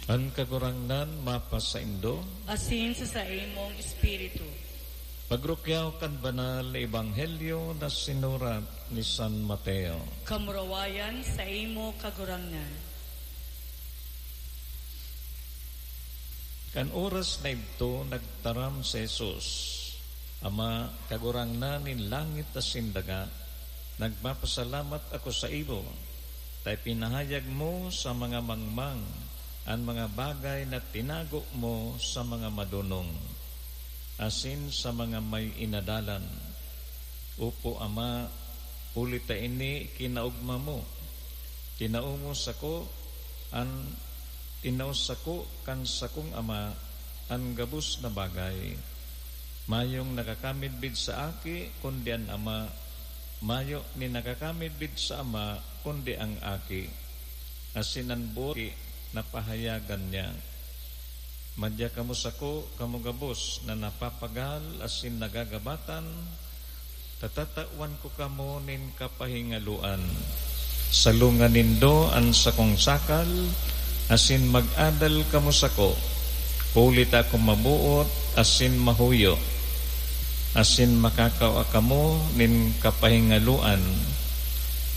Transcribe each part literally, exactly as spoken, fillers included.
An Kagurangnan mapasaindo. Asin sa saimong espiritu. Pagrukyaw kan Banal na Ebanghelyo na sinurat ni San Mateo. Kamurawayan saimo, Kagurangnan. Kan oras na idto, nagtaram si Jesus, "Ama, Kagurangnan nin langit asin daga, nagpapasalamat ako saimo, ta ipinahayag mo sa mga mangmang an mga bagay na tinago mo sa mga madonong asin sa mga may inadalan. Opo, Ama, huli ta ini kinaogma mo. Tinao mo sako an, tinao sako kan sakong Ama an gabos na bagay. Mayong nakakamidbid sa Aki, kundi an Ama. Mayo nin nakakamidbid sa Ama, kundi an Aki. Asin an boot napahayagan niya. Madya kamo sako, kamo gabos na napapagal asin nagagabatan, ta tatawan ko kamo nin kapahingaloan. Salonga nindo an sakong sakal, asin mag-adal kamo sako, huli ta ako maboot asin mahuyo, asin makakua kamo nin kapahingaloan,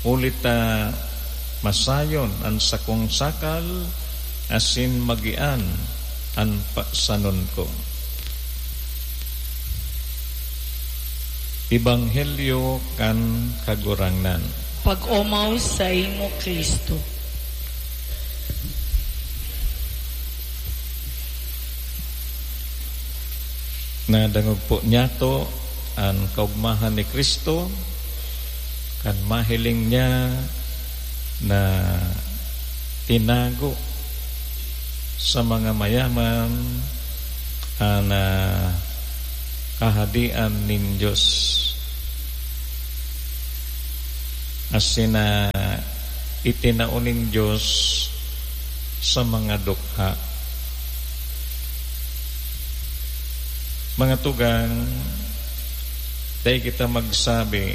huli ta masayon an sakong sakal, asin magian an pasanon ko." Ebanghelyo kan Kagurangnan. Pag-omaw saimo, Cristo. Nadangog po niyato an kaogmahan ni Cristo kan mahiling niya na tinago sa mga mayaman an, ah, Kahadean nin Dios. Asin na itinao nin Dios sa mga dukha. Mga tugang, dai kita magsabi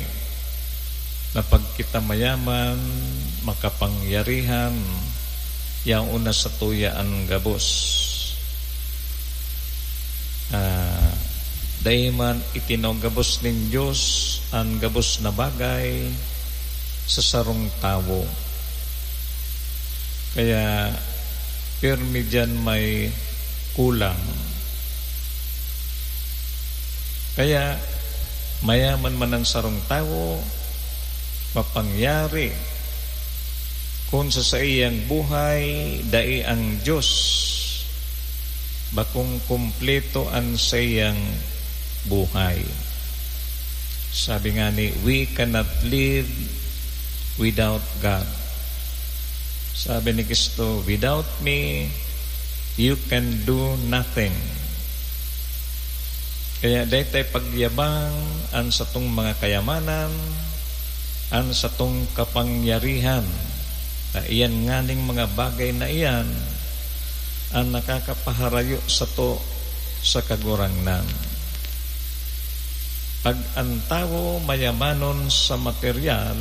na pag kita mayaman, makapangyarihan, yaon na satuya an gabos. Ah, dai man itinao gabos nin Dios an gabos na bagay sa sarong tawo. Kaya, pirmi diyan may kulang. Kaya, mayaman man an sarong tawo, mapangyari, kun sa saiyang buhay, dai ang Dios, bakong kumpleto an saiyang buhay. Sabi ngani, "We cannot live without God." Sabi ni Cristo, "Without me, you can do nothing." Kaya dai ta ipagyabang an satong mga kayamanan, an satong kapangyarihan, ta iyan nganing mga bagay na iyan an nakakapaharayo sato sa Kagurangnan. Pag an tawo mayamanon sa materyal,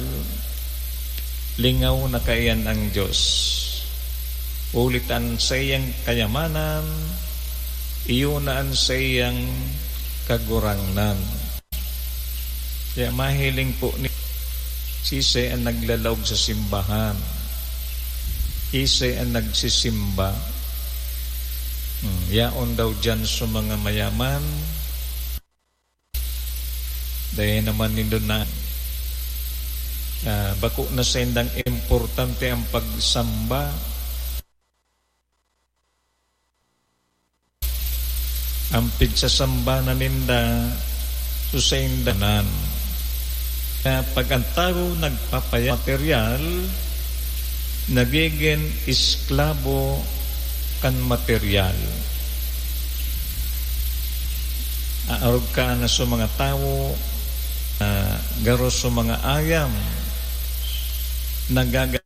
lingaw na kaiyan an Dios. Huli ta an saiyang kayamanan, iyo na an saiyang Kagurangnan. Kaya mahiling po ni, siisay an naglalaog sa simbahan? Siisay an nagsisimba? Hmm, yaon daw diyan sa mga mayaman. Dai naman nindo na, ah, bako na saindang importante ang pagsamba. Ang pigsasamba na ninda, so sainda nan. Kaya pag ang tawo nagpapaya-, materyal, nagigin esklabo kan materyal. Aarog ka na sa mga tawo, ah, garo sa mga ayam, nagaga-,